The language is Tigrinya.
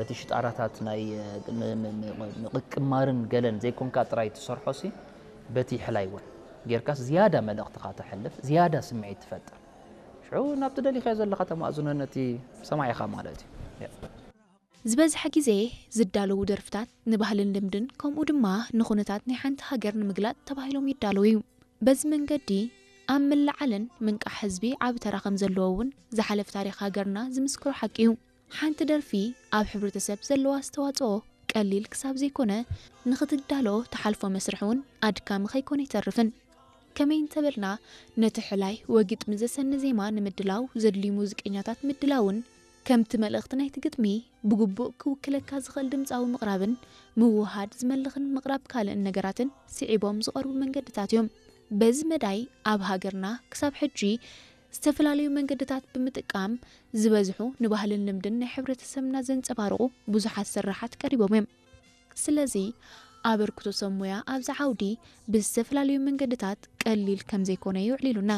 በቲ ሽጣራታት ናይ ምቕማርን ገለን ዘይኮንካ ጥራይ ትሰርሖ ሲ በቲ ሕላይ እውን ጌርካስ ዝያዳ መልእኽትኻ ተሕልፍ፣ ዝያዳ ስምዒት ትፈጥር። ሽዑ ናብቲ ደሊኻዮ ዘለኻ ተማእዝኖ ነቲ ሰማዒኻ ማለት እዩ። ዝበዝሐ ግዜ ዝዳለዉ ደርፍታት ንባህልን ልምድን ከምኡ ድማ ንኹነታት ናይ ሓንቲ ሃገር ንምግላጽ ተባሂሎም ይዳለዉ እዩ። በዚ መንገዲ ኣብ ምልዓልን ምንቃሕ ህዝቢ ዓቢ ተራ ከም ዘለዎ እውን ዝሓለፍ ታሪኽ ሃገርና ዝምስክሮ ሓቂ እዩ። ሓንቲ ደርፊ ኣብ ሕብረተሰብ ዘለዋ ኣስተዋጽኦ ቀሊል ክሳብ ዘይኮነ ንኽትዳሎ ትሓልፎ መስርሕ እውን ኣድካሚ ከይኮነ ኣይተርፍን። ከመይ እንተበልና ነቲ ሕላይ ወግጥሚ ዘሰኒ ዜማ ንምድላው ዘድልዩ ሙዚቀኛታት ምድላውን ከምቲ መልእኽቲ ናይቲ ግጥሚ ብግቡእ ክውክለካ ዝኽእል ድምፃዊ ምቕራብን ምውሃድ ዝመልኽን ምቕራብ ካልእን ነገራትን ስዒቦም ዝቐርቡ መንገድታት እዮም። በዚ መዳይ ኣብ ሃገርና ክሳብ ሕጂ ዝተፈላለዩ መንገድታት ብምጥቃም ዝበዝሑ ንባህልን ልምድን ናይ ሕብረተሰብና ዘንጸባርቑ ብዙሓት ስራሓት ቀሪቦም እዮም። ስለዚ ኣበርክቶ ሰብ ሙያ ኣብዚ ዓውዲ ብዝተፈላለዩ መንገድታት ቀሊል ከም ዘይኮነ የዕሊሉና።